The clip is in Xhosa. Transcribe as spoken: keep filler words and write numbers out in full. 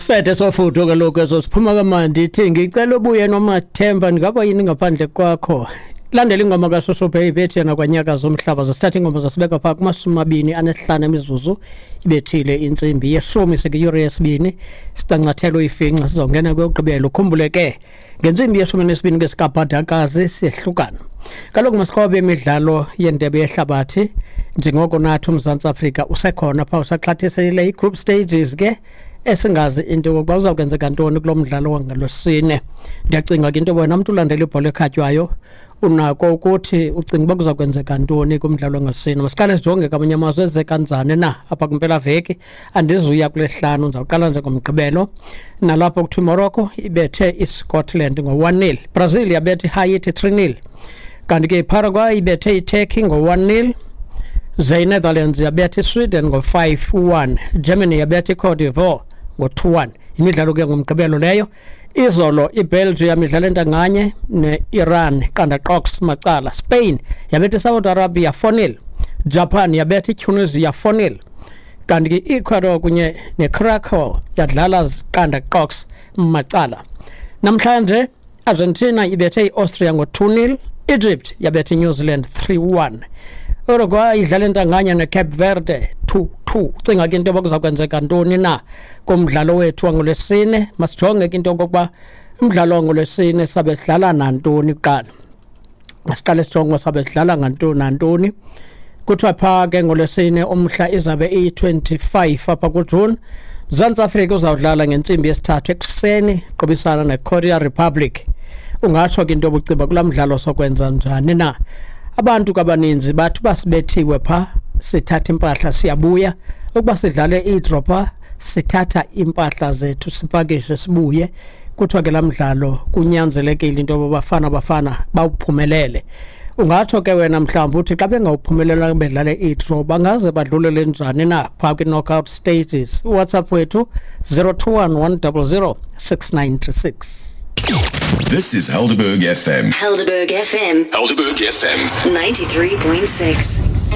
Sisifethe sofutho kaloku eso siphuma kamandi ithi ngicela ubuye nomathemba ndingaba yini ngaphandle kwakho. Landela ingoma kaSoso Baby ethi yena kwanyaka zomhlaba. Zasithatha ingoma zasibeka phaa kumashumi amabini anesihlanu emizuzu ibethile intsimbi yeshumi sekuyure yesibini, sicancathelo ifinca sizawungena kweyokugqibela. Ukhumbule ke ngentsimbi yeshumi nesibini ke sikabhadakazi siyehlukana kaloku masikhobe imidlalo yendebe yehlabathi njengoko nathi uMzantsi Afrika usekhona phaa usaxhathisile i-group stages ke esingazi into yokokuba uzawukwenzeka ntoni kulo mdlalo wangalwesine. Ndiyacinga ke into wena mntu ulandela ibhola ekhatywayo unako ukuthi ucinga uba kuza kwenzeka ntoni kumdlalo wangalwesine. Masiqale sijonge kamanye amazwe eze kanjani na apha kwimpelaveki. Andizuya kulesihlanu, ndizawuqala nje ngomgqibelo. Nalapho kuthiwa iMorocco ibethe iScotland ngo-one nil, Brazil yabetha iHaiti three nil, kanti ke iParaguay ibethe iTurkey ngo-one nil, ze iNetherlands yabetha iSweden ngo-five one, Germany yabetha iCote d'Ivoire ngo-two one. Imidlalo ke ngomgqibelo leyo. Izolo iBelgium idlala entanganye ne-Iran qanda qox macala. Spain yabetha iSaudi Arabia four nil, Japan yabetha iTunisia four nil, kanti ke i-Ecuador kunye neCuracao yadlala qanda qox macala. Namhlanje Argentina ibethe i-Austria ngo-two nil, Egypt yabetha iNew Zealand three one, Uruguay idlala entanganye neCape Verde two two. Ucinga ke into yoba kuza kwenzeka ntoni na kumdlalo wethu wangolwesine? Masijonge ke into yokokuba umdlalo wangolwesine sabe sidlala nantoni kuqala. Masiqale sijonge sabe sidlala ngantoni nantoni. Kuthiwa phaa ke ngolwesine umhla izabe iyi-twenty-five apha kuJuni, Mzantsi Afrika uzawudlala ngentsimbi yesithathu ekuseni qobisana neKorea Republic. Ungatsho ke into yobuciba kulaa mdlalo sokwenza njani na? Abantu kabaninzi bathi basibethiwe phaa, sithatha impahla siyabuya. Ukuba sidlale i-draw phaa, sithatha impahla zethu sipakishe sibuye. Kuthiwa ke laa mdlalo kunyanzelekile into yoba Bafana Bafana bawuphumelele. Ungatsho ke wena mhlawumbi uthi xa bengawuphumelelanga bedlale i-draw bangaze badlulele njani na phaa kwi-knockout stages? WhatsApp wethu zero two one one double zero six nine three six. This is Helderberg F M. Helderberg F M. Helderberg F M. ninety-three point six.